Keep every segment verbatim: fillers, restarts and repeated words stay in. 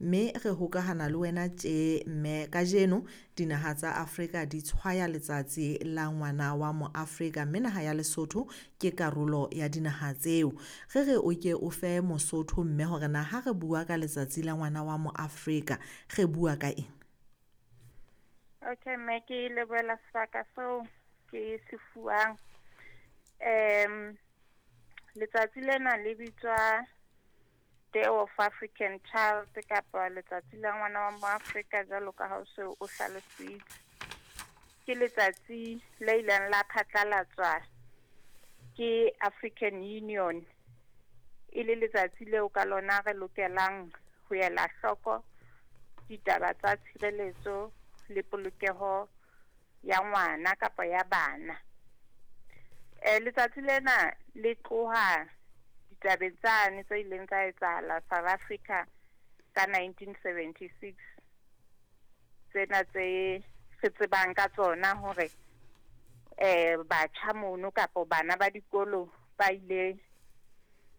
Mme re hokahana le wena tje mme kajeno dinaha tsa Afrika di tshwaya letsatsi la ngwana wa moAfrika, mme naha ya Lesotho ke karolo ya dinaha tseo. Re re o ke o fe Mosotho mme hore na ha re bua ka letsatsi la ngwana wa moAfrika re bua ka eng? Okay, mme ke lebohela sebaka seo ke se fuwang. Um letsatsi lena le bitswa Day of African Child kapa letsatsi la ngwana wa moAfrika jwalo ka ha o se o hlalositse. Ke letsatsi le ileng la phatlalatswa ke African Union, e le letsatsi leo ka lona re lokelang ho ela hloko ditaba tsa tshireletso le polokeho ya ngwana kapa ya bana. Eh letsatsi lena le tloha ditabeng tsane tse ileng tsa etsahala South Africa ka nineteen seventy-six, tsena tse re tsebang ka tsona hore eh batjha mono kapa bana ba dikolo ba ile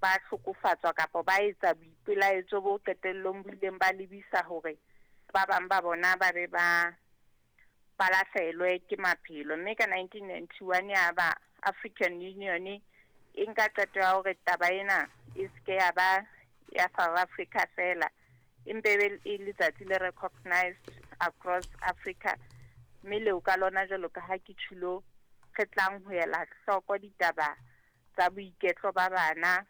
ba hlokofatswa kapa ba etsa boipelaetso bo qetellong bo ileng ba lebisa hore ba bang ba bona ba be ba ba lahlehelwe ke maphelo. Mme ka nineteen ninety-one ya ba African Union e nka qeto ya hore taba ena e seke ya ba ya South Africa fela, empe e be e letsatsi le recognized across Africa, mme leo ka lona jwalo ka ha ke tjhulo re tlang ho ela hloko ditaba tsa boiketlo ba bana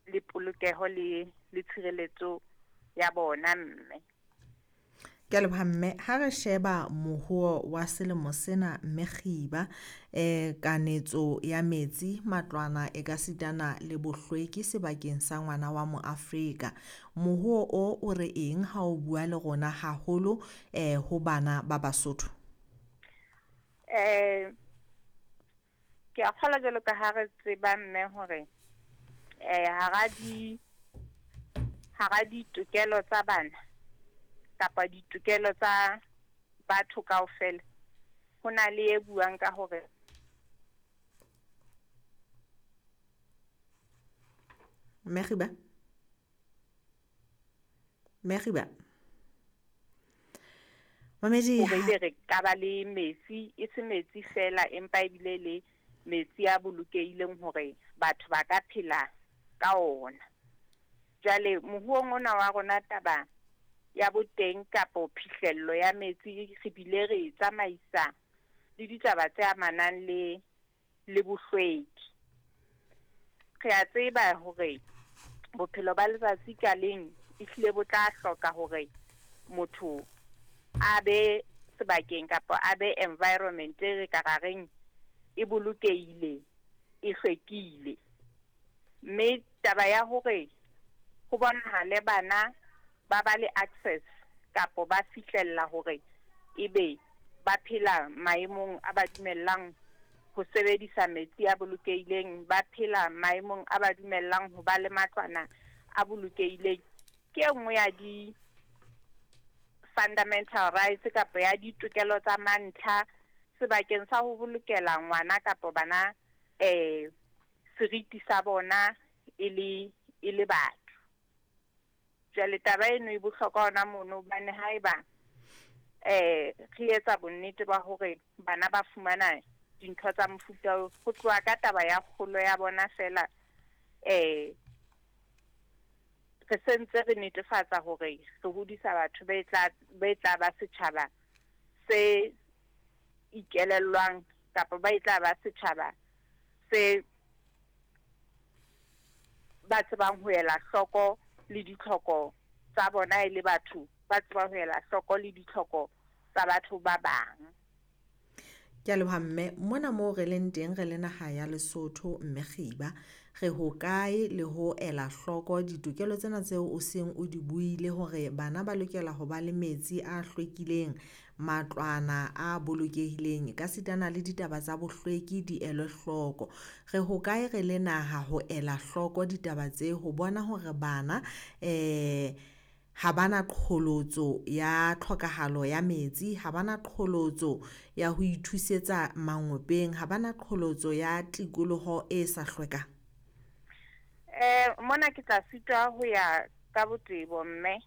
le polokeho le le tshireletso ya bona mme. Ke a leboha mme. Ha re sheba mohuo wa selemo sena mme Kgiba, eh kanetso ya metsi, matlwana e ka sitana le bohlweki sebakeng sa ngwana wa moAfrika. Mohuo o o re eng ha o bua le rona haholo eh ho bana ba Basotho? Eh ke a kgolwa jwalo ka ha re tseba mme hore eh hara di hara ditokelo tsa bana kapa ditokelo tsa batho kaofela, ho na le e buang ka hore Mme Kgiba? Mme Kgiba? Mamedi, hore ebe re ka ba le metsi, e se metsi fela empa ebile le metsi a bolokehileng hore batho ba ka phela ka ona. Jwale moruong ona wa rona taba ya boteng kapo phihlello ya metsi re bile re e tsamaisa le ditaba tse amanang le le bohlweki. Re a tseba hore bophelo ba letsatsi ka leng ehlile bo tla hloka hore motho a be sebakeng kapa a be environment e re ka ra reng e bolokehile, e hlwekile. Mme taba ya hore ho bonahale bana ba ba le access kapo ba fihlella hore ebe ba phela maemong a ba dumellang ho sebedisa metsi a bolokehileng, ba phela maemong a ba dumellang ho ba le matlwana a bolokehileng, ke e nngwe ya di fundamental rights kapa ya ditokelo tsa mantlha sebakeng sa ho bolokela ngwana kapa bana eh seriti sa bona e le e le batho. Jwale taba eno e bohlokwa hona mono hobane haeba eh re etsa bonnete ba hore bana ba fumana dintho tsa mofuta oo, ho tloha ka taba ya kgolo ya bona fela, eh re sentse re netefatsa hore re hodisa batho be tla be tla ba setjhaba se ikelellwang kapa ba e tla ba setjhaba se ba tsebang ho ela hloko le ditlhoko tsa bona e le batho, ba tsebang ho ela hloko le ditlhoko tsa batho ba bang. Ke a leboha mme. Mona moo re leng teng re le naha ya Lesotho mme Kgiba, re hokae le ho ela hloko ditokelo tsena tseo o seng o di buile hore bana ba lokela ho ba le metsi a hlwekileng, matlwana a bolokehileng, ka sitana le ditaba tsa bohlweki di elwe hloko. Re hokae re le naha ho ela hloko ditaba tse ho bona hore bana eh ha bana qholotso ya tlhokahalo ya metsi, ha bana qholotso ya ho ithusetsa mangopeng, ha bana qholotso ya tikoloho e sa hlwekang? Eh mona ke tla sitwa ho ya ka botebo mme,